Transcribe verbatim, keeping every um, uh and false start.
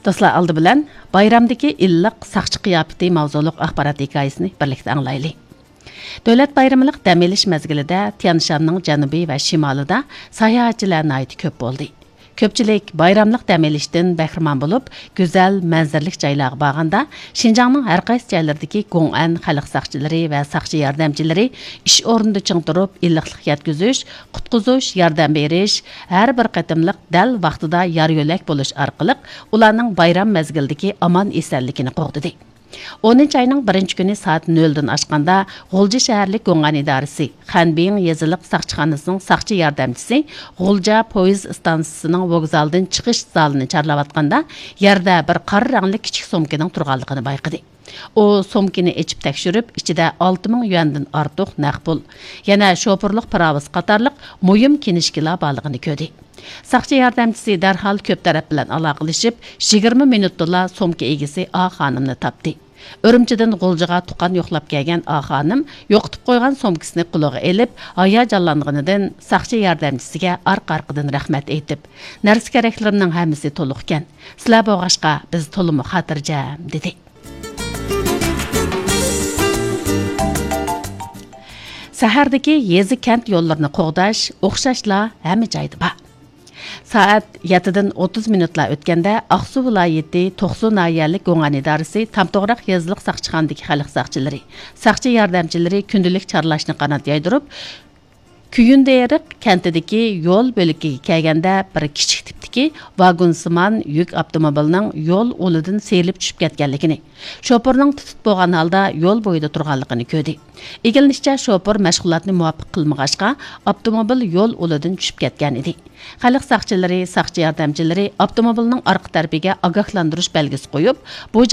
دوستلار، ئالدى بىلەن بايرامدىكى ئىللىق ساقچى قىياپىتى ماۋزۇلۇق ئاخبارات ھېكايىسىنى بىرلىكتە ئاڭلايلى. دۆلەت بايرىملىق دەم ئېلىش مەزگىلىدە تيانشاننىڭ جەنۇبى ۋە شىمالىدا ساياھەتچىلەر ناھايىتى كۆپ بولدى. كۆپچىلىك بايراملىق دەم ئېلىشتىن بەھرىمەن بولۇپ، گۈزەل مەنزىرىلىك جايلارغا بارغاندا، شىنجاڭنىڭ ھەر قايسى جايلىرىدىكى گوڭئەن خەلق ساقچىلىرى ۋە ساقچى ياردەمچىلىرى ئىش ئورنىدا چىڭ تۇرۇپ، ئىللىقلىق يەتكۈزۈش، قۇتقۇزۇش، ياردەم بېرىش، ھەر بىر قېتىملىق دەل ۋاقتىدا يار يۆلەك بولۇش ئارقىلىق ئۇلارنىڭ بايرام مەزگىلىدىكى ئامان-ئېسەنلىكىنى قوغدىدى. ئونىنچى ئاينىڭ بىرىنچى كۈنى سائەت نۆلدىن ئاشقاندا، غۇلجا شەھەرلىك گوڭئەن ئىدارىسى خەنبىڭ يېزىلىق ساقچىخانىسىنىڭ ساقچى ياردەمچىسى غۇلجا پويىز ئىستانسىسىنىڭ ۋوگزالدىن چىقىش زالىنى چارلاۋاتقاندا، يەردە بىر قارا رەڭلىك كىچىك سومكىنىڭ تۇرغانلىقىنى بايقىدى. ئۇ سومكىنى ئېچىپ تەكشۈرۈپ، ئىچىدە ئالتە مىڭ يۈەندىن ئارتۇق نەق پۇل، يەنە شوپۇرلۇق پىراۋىسى قاتارلىق مۇھىم كىنىشكىلار بارلىقىنى كۆردى. ساقچى ياردەمچىسى دەرھال كۆپ تەرەپ بىلەن ئالاقىلىشىپ، يىگىرمە مىنۇتتىلا سومكا ئىگىسى ئا خانىمنى تاپتى. ئۈرۈمچىدىن غۇلجىغا تۇغقان يوقلاپ كەلگەن ئا خانىم يوقىتىپ قويغان سومكىسىنى قولىغا ئېلىپ، ھاياجانلانغىنىدىن ساقچى ياردەمچىسىگە ئارقا-ئارقىدىن رەھمەت ئېيتىپ، نەرسە-كېرەكلىرىمنىڭ ھەممىسى تولۇقكەن. سىلەر بولغاچقا، بىز تولىمۇ خاتىرجەم، دېدى. سەھەردىكى يېزا-كەنت يوللىرىنى قوغداش ئوخشاشلا ھەممە جايدا بار. سائەت يەتتىدىن ئوتتۇز مىنۇتلا ئۆتكەندە، ئاقسۇ ۋىلايىتى توقسۇ ناھىيەلىك گوڭئەن ئىدارىسى تامتوغراق يېزىلىق ساقچىخانىدىكى خەلق ساقچىلىرى، ساقچى ياردەمچىلىرى كۈندىلىك چارلاشنى قانات يايدۇرۇپ، كۆيۈندېرىق كەنتىدىكى يول بۆلىكىگە كەلگەندە، بىر كىچىك تىپتىكى ۋاگونسىمان يۈك ئاپتوموبىلىنىڭ يول ئۇلىدىن سىيرىلىپ چۈشۈپ كەتكەنلىكىنى، شوپۇرنىڭ تۇتۇپ بولغان ھالدا يول بويىدا تۇرغانلىقىنى كۆردى. ئىگىلىنىشىچە، شوپۇر مەشغۇلاتنى مۇۋاپىق قىلمىغاچقا، ئاپتوموبىل يول ئۇلىدىن چۈشۈپ كەتكەن ئىدى. خەلق ساقچىلىرى، ساقچى ياردەمچىلىرى ئاپتوموبىلنىڭ ئارقا تەرىپىگە ئاگاھلاندۇرۇش بەلگىسى قويۇپ، بۇ جاي